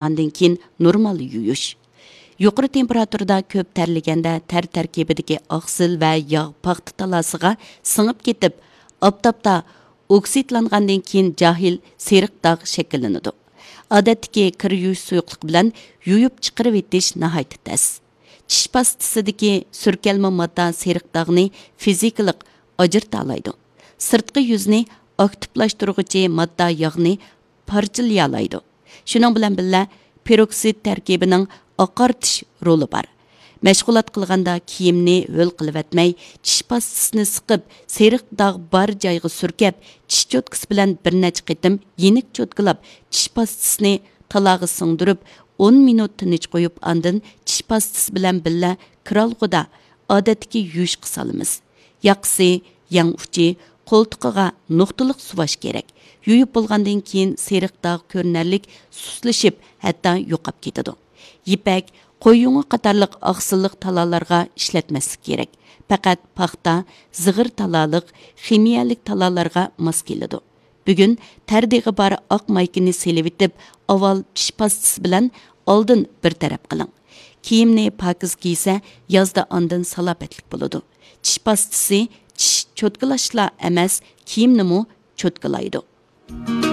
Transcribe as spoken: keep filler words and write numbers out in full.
ئاندىن كېيىن نورمال يۇيۇش. يۇقىرى تېمپېراتۇرىدا كۆپ تەرلىگەندە تەر تەركىبىدىكى ئاقسىل ۋە ياغ پاختا تالاسىغا سىڭىپ كېتىپ، ئاپتاپتا ئوكسىدلانغاندىن كېيىن جاھىل سېرىق داغ شەكىللىنىدۇ. ئادەتتىكى كىر يۇيۇش سۇيۇقلۇقى بىلەن يۇيۇپ چىقىرىۋېتىش ناھايىتى تەس. چىش پاستىسىدىكى سۈركەلمە ماددا سېرىق داغنى فىزىكىلىق ئاجرىتالايدۇ. سىرتقى يۈزنى ئاكتىپلاشتۇرغۇچى ماددا ياغنى پارچىلىيالايدۇ. شۇنىڭ بىلەن بىللە، پېروكسىد تەركىبىنىڭ ئاقارتىش رولى بار. مەشغۇلات قىلغاندا كىيىمنى ھۆل قىلىۋەتمەي، چىش پاستىسىنى سىقىپ، سېرىق داغ بار جايغا سۈركەپ، چىش چوتكىسى بىلەن بىر نەچچە قېتىم يېنىك چوتكىلاپ، چىش پاستىسىنى تالاغا سىڭدۈرۈپ، ئون مىنۇت تىنچ قويۇپ، ئاندىن چىش پاستىسى بىلەن بىللە كىرئالغۇدا ئادەتتىكى يۇيۇشقا سالىمىز. ياقىسى، يەڭ ئۇچى، قولتۇقىغا نۇقتىلىق سۇۋاش كېرەك. يۇيۇپ بولغاندىن كېيىن سېرىق داغ كۆرۈنەرلىك سۇسلىشىپ، ھەتتا يوقاپ كېتىدۇ. يىپەك، قوي يۇڭى قاتارلىق ئاقسىللىق تالالارغا ئىشلەتمەسلىك كېرەك. پەقەت پاختا، زىغىر تالالىق، خىمىيەلىك تالالارغا ماس كېلىدۇ. بۈگۈن تەر دېغى بار ئاق مايكىنى سېلىۋېتىپ، ئاۋۋال چىش پاستىسى بىلەن ئالدىن بىر تەرەپ قىلىڭ. كىيىمنى پاكىز كىيسە، يازدا ئاندىن سالاپەتلىك بولىدۇ. چىش پاستىسى چىش چوتكىلاشلا ئەمەس، كىيىمنىمۇ چوتكىلايدۇ.